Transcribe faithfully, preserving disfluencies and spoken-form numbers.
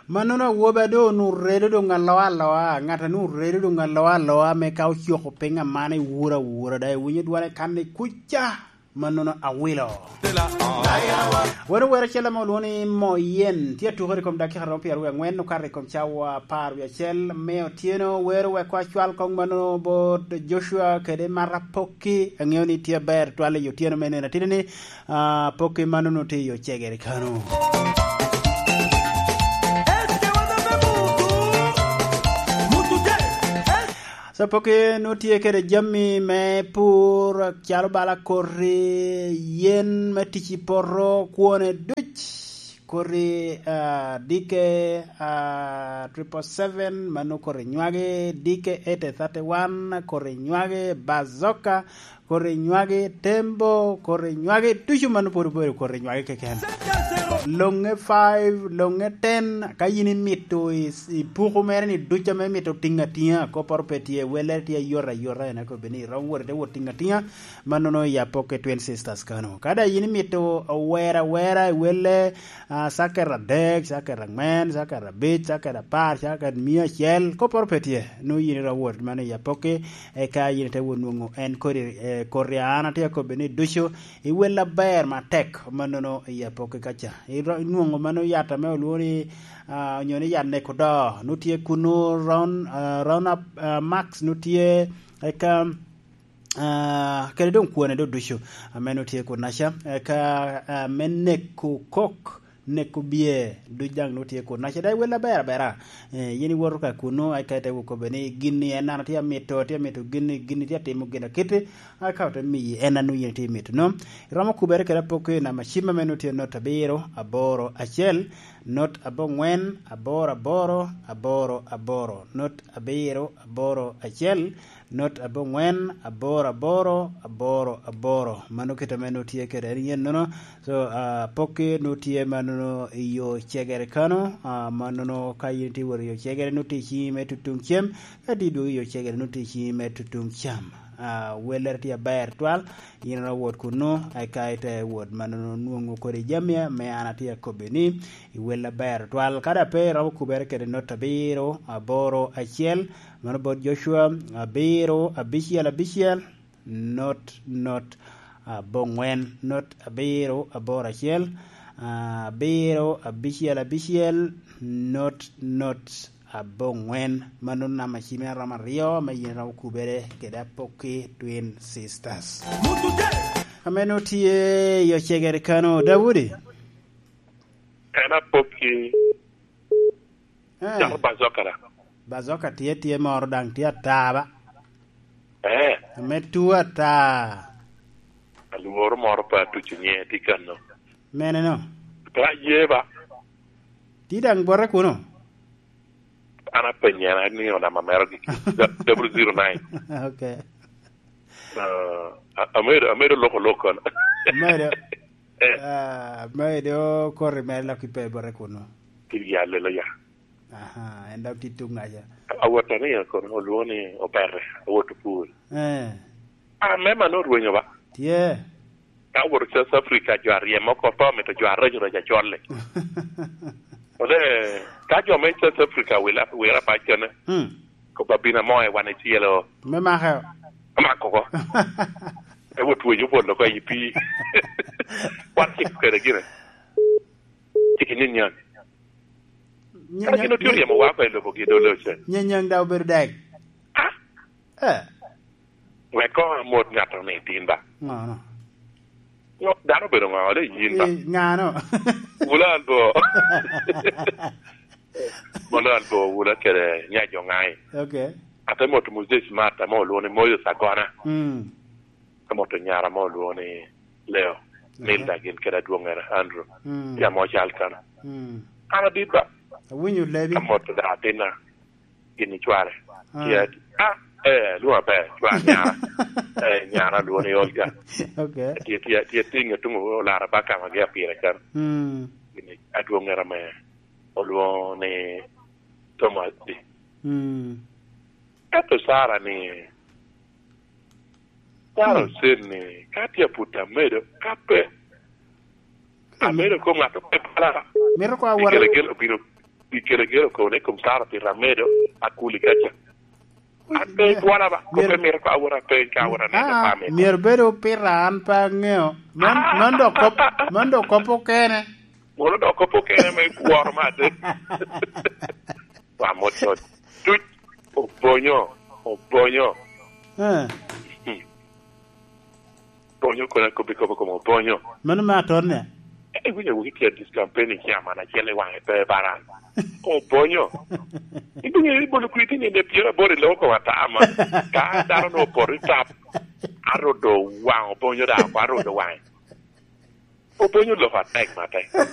Mannono awobi a doŋ onwoŋo redo doŋ aloa aloa, ŋat a nwoŋo redo doŋ aloa aloa, me ka ocoko piny aman ewuro awura, daŋ iwinyo dwane kan ni kuca, mannono awilo. Wan owero acel ame olwoŋo ni Moyen, tye atukere i kom dakika romo pyeraryo angwen, okato i kom cawa apar wie acel me otyeno. Wero wek acwal koŋ mannono bot Joshua kede Mara Pokki, aŋeo ni tye aber twal i otyeno me nino atidi ni, ah, Pokki mannono tye i ocegere kano. So, Pokki nwoŋo tye kede jami me pur, calo bala koti, yen me tic i poto, kwone duc, koti, ah, D K, ah, triple seven, mano koti nywagi, D K eight thirty-one, koti nywagi, Bazooka, koti nywagi, Tembo, koti nywagi, ducu mano pwod obedo koti nywagi keken. Loŋe five, loŋe ten, ka yin imito i, i puku mere ni ducu ame imito tiŋ atiŋa, kopporo pe tye, wellere tye ayot ayota, en akobi ni iromo wot ite wot tiŋ atiŋa, mannono i Apokke Twin Sisters kano. Ka daŋ yin imito wer awera i welle, ah, caket adek, caket angwen, caket abic, caket apar, caket mia acel, kopporo pe tye, nwoŋo yin iromo wot mano i Apokke, eka yin ite wot nwoŋo en kodi, eh, koti a an atye akobi ni ducu, i wel aber matek mannono i Apokke kaca. Iro-, inwoŋo mano yat ame olwoŋo ni, ah, onyo ni yat neko do, nwoŋo tye kunu, Round, ah, Round Up, ah, Max nwoŋo tye, eka, ah, kede doŋ kwone do ducu ame nwoŋo tye kunaca, eka, ah, me neko kok, neko bye, duc daŋ nwoŋo tye kunaca, daŋ i wel aber abera. Eh, yin iwoto ka kunu, eka ite wot kobbe ni, "Gin-ni en an atye amito, atye amito gin-ni, gin-ni tye atimo gin akiti." Aka ote miyi en a nwoŋo yin itye mito no. Iromo kubere kede Apokke i namba cim ame nwoŋo tye not abiro, aboro, acel, not aboŋwen, aboro, aboro, aboro, aboro, not abiro, aboro, acel, not aboŋwen, aboro, aboro, aboro, aboro. Mano kit ame nwoŋo tye kede en yen nono. So, ah, Apokke nwoŋo tye ma nono i yo cegere kano, ah, ma nono ka yin itye wot i yo cegere, nwoŋo tye i ciŋi me tutuŋ cem, ka tye idwogo i yo cegere, nwoŋo tye i ciŋi me tutuŋ cam. Ah, wellere tye aber twal, yin iromo wot kunu, eka ite wot mannono nwoŋo kodi jami ame an atye akobbi ni i wel aber twal. Ka daŋ pe iromo kubere kede not abiro, aboro, acel, mano bot Joshua, abiro, abicel, abicel, not, not, aboŋwen, not, abiro, aboro, acel, abiro, abicel, abicel, not, not, aboŋwen. Mano namba cim en romo aryo, ame yin iromo kubere kede Apokki Twin Sisters. Ame nwoŋo tye i ocegere kano, Daudi? En Apokki. Eh. Calo Bazooka da. Bazooka tye, tye moro daŋ tye ata ba. Eh. Ame tuo ata. Alworo moro pe atuco nyiŋe tye kano. Mene no? Pe aye ba. Tye daŋ bote kuno? An apenye, an anino namba mero gi, double zero nine. Ok. Ah, a-, amedo, amedo loko lok kono. Amedo. Eh. Ah, amedo koti mere lok ipe bote kuno. Kit ya lelo ya. Aha, en dok tye tuŋ aca. Awot anino kono olwoŋo ni Opere, awot opur. Eh. Ah, me man orwenyo ba? Tye. Ka awot South Africa, jo aryemo oko pe omito jo areco reco acol-li. Ole, ka jo me South Africa wila, wira pac kene, hmm, kobba bino amo i wan icelo. Me make. Amako oko. Ewot wenyo pol oko i pii. Wan cik kede gine. Cik i nyanyan. Ka gin otye oryemo wa oko i lobo gi dole ocen. Nyanyan daŋ obedo dek. Ah? Eh. Wek koŋ amot ŋat-to ni tin ba. Ŋo no? Ŋo, dano obedo ŋo, ole yin ba? Eh, ŋano? Wula Albo. Wula Albo, wula kede nyajo ŋai. Ok. Ate moto Moses Martha, ame olwoŋo ni Moses Agona. Mm. Ate moto nyara, ame olwoŋo ni Leo. Aha. Nilda gin kede adwoŋŋere Andrew. Mm. Tye amo cal kan. Mm. An adit ba. Awinyo lebi. Amoto da atinna. Gin i cware. Ah. Tye, ah, eh, lwongo aber, cwar nyara. Eh, nyara lwongo ni Olga. Ok. Tye, tye, tye tiŋe tuŋ olara ba ka ma gia pire kan. Mm. Gin i adwoŋŋere ame olwoŋo ni Thomas di. Mm. Ento Sara ni, Sara, mm, ocen ni, ka tye aput amedo, ka pe, ka mi-, amedo ko ŋat ope pala. Mito ko awot. Ikele gel obino. Pi kelo gero kono i kom Sara pi ramedo, akuli kaca. An pe ibwola ba, kop pe mito ka awot apeny, ka awot aneno Ah, family. Myero bedo pira, an pe aŋeo. Man, Ah! Man dok kop, man dok kop okene. Mono dok kop okene me kworo me adek. Wa mot mot. Tuc, obonyo, obonyo. Eh. Hmm. Bonyo kono akobbi kop okome obonyo. Mano me atone. Eh, iwinyo wok itye this campaign i chairman acel i wange pe baran. Obonyo. Ibinyo ibolo kwiti ni ne pyero aboro i loko koma tama. Ka dano no opoto i tap. Arodo wang obonyo da, arodo wange. Obonyo loko atek matek.